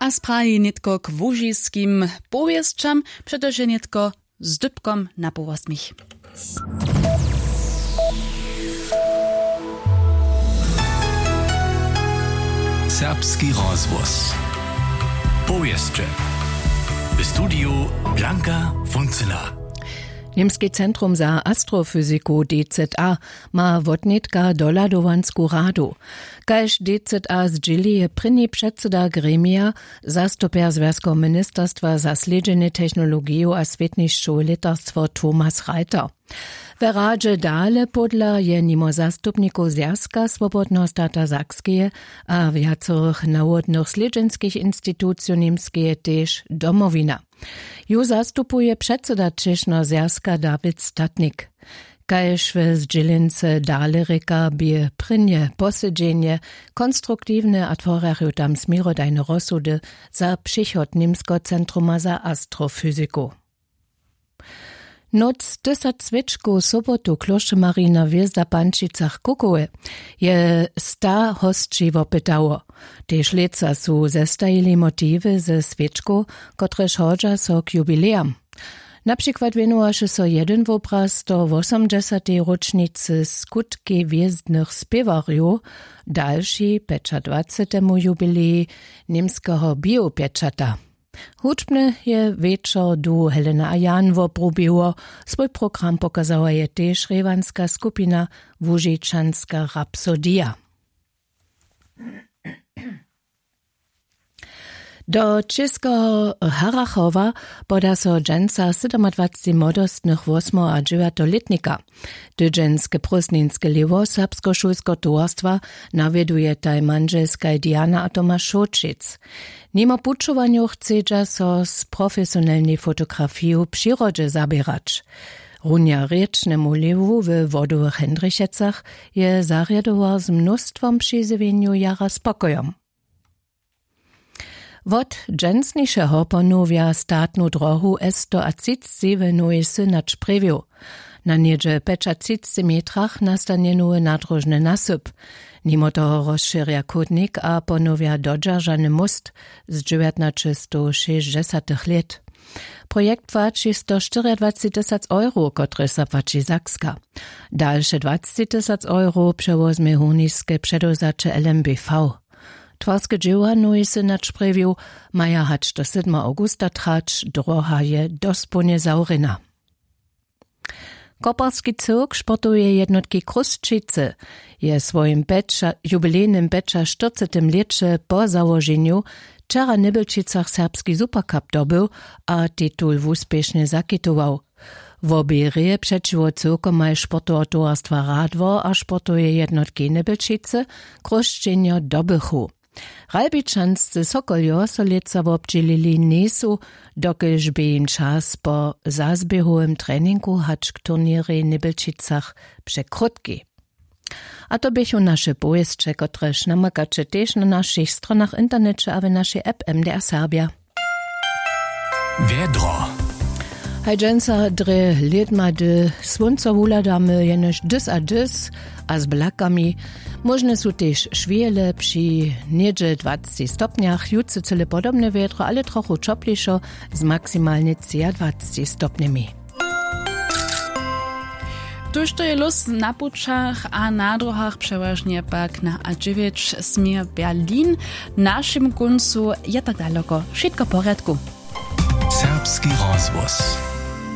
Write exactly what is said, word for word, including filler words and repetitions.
A spraji nětko k łužiskim powěsćam, přetož je nětko z dypkom na połosmich. Serbski rozhłos. Powěsće. W studiju Blanka Funceler. Němski centrum za astrofyziku D Z A ma wotnětka dohladowansku radu. Kaž D Z A zdźěli, je prěni předsyda gremija, zastupjer zwjazkeho ministerstwa za slědźenje technologiju a swětnišćowe lětarstwo Thomas Reiter. We radźe dale pódla je nimo zastupnikow zwjazka swobodneho stata Sakskeje a wjacorych nawodnych slědźenskich institucijow Němskeje tež Domowina. Ju zastupuje předsyda třěšneho zwjazka Dawid Statnik. Kaž we zdźělency dale rěka, bě prěnje posedźenje konstruktiwne a tworjarju tam směrodajne rozsudy za přichod Němskeho centruma za astrofyziku. Noc tysac swěčkow sobotu klóšćemarina hwězda w Pančicach Kukowy je sta hosći wopytało. Tež lětsa su zestajili motiwy ze swěčkow, kotrež hodźa so k jubilejam. Na přikład wěnowaše so jedyn wobraz do wosomdźesatej róčnicy skutkej hwězdnych spěwarjow, dalši pjećadwacetemu jubilej němskeho biopječata. Hudźbnje je wječor duhu Helena a Jan wobrubiło. Swój program pokazała je tež rěwanska skupina Łužičanska rapsodija. Do Čěskeho Harachowa poda so dźensa sydomadwacci młodostnych wosmeho a dźewjateho lětnika. Tydźenske prózdninske lěhwo serbskeho šulskeho towarstwa nawjedujetaj mandźelskaj Diana a Tomaš Šołćic. Nimo pućowanjow chcedźa so z profesionelnej fotografiju w přirodźe zaběrać. Runja rěčnemu lěhwu we Wodowych Hendrichecach je zarjadowar z mnóstwom přizjewjenjow jara spokojom. Wot dźensnišeho ponowja statnu drohu S sto a třicci w Nowej Synać Prěwju. Na něhdźe pjećatřicci metrach nastanje nowy nadróžny nasyp. Nimo toho rozšěrja chódnik a ponowja dodźeržany móst z dźewjatnaćestowšěsćdźesatych lět. Projekt płaći sto štyriadwacci tysac euro, kotrež zapłaći Sakska. Dalše dwacci tysac euro přewozmje hórniske předewzaće L M B V. Twarske dźěła Nowy Synać Prěwju maja hač do sydma awgusta trać, droha je dospołnje zawrjena. Koparski cyrk sportoweje jednotki Chrósćicy je w swojim pjeća-, jubilejnym pjećaštyrcetym lěće po załoženju wčera w Nybjelčicach serbski Supercup dobył a titul wuspěšnje zakitował. Wobě reje přećiwo cyrkomaj sportoweho towarstwa Radwor a sportoweje jednotki Nybjelčicy Chrósćenjo dobychu. Ralbičanscy Sokoljo so lětsa wobdźělili njejsu, dokelž bě jim čas po zazběhowym treningu hač k turněrej w Nybjelčicach překrótki. A to běchu naše powěsće, kotrež namakaće tež na našich stronach w interneće a w našej app M D R Serbja. Wjedro. Haj dźensa drje lědma, hdy słónco wuhladamy jenož dys a dys a z blakami. Móžne su tež šwěle při něhdźe dwacci stopnjach, jutře cyle podobne wjedro, ale trochu ćoplišo z maksimalnje třiadwacci stopnjemi. Tójšto je lós na pućach a na dróhach, přewažnje pak na A dźewjeć směr Berlin. W našim kóncu je tak daloko wšitko w porjadku. Serbski rozhłos.